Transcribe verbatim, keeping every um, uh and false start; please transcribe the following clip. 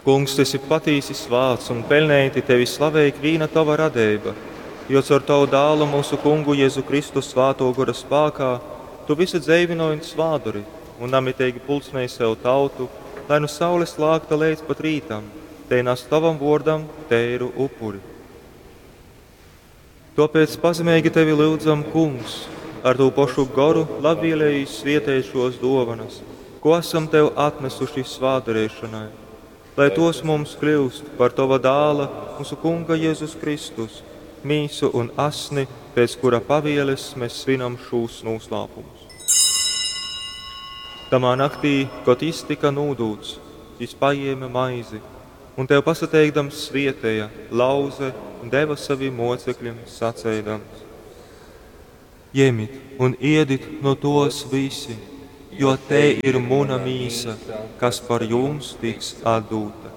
Kungs, tu esi patīsi svāts un peļneiti tevi slavej ikvīna tova radeiba, jo caur tavu dālu mūsu kungu Jēzu Kristu svātō gora spākā tu visu dzeivynoj un svātdori un namiteigi pulcinej sev tautu, lai nu saules lākta leidz pat rītam, tei nas tovam vōrdam teiru upuri. Tōpēc pazemeigi tevi lyudzam, Kungs, ar tū pošu goru labvēlīgi svieteit šos dōvanas, ko esam tev atnesuši svātdareišanai, lai tos mums kļūst par tova dāla, mūsu kunga Jēzus Kristus, mīsu un asni, pēc kura pavieles mēs svinam šūs noslēpumus. Tamā naktī, kad jis tika nūdūts, jis paēma maizi un tev pasateikdams svietēja, lauze un deva saviem mocekļiem saceidams: Ņemit un ēdit no tos visi, jo te ir muna mīsa, kas par jums tiks atdūta.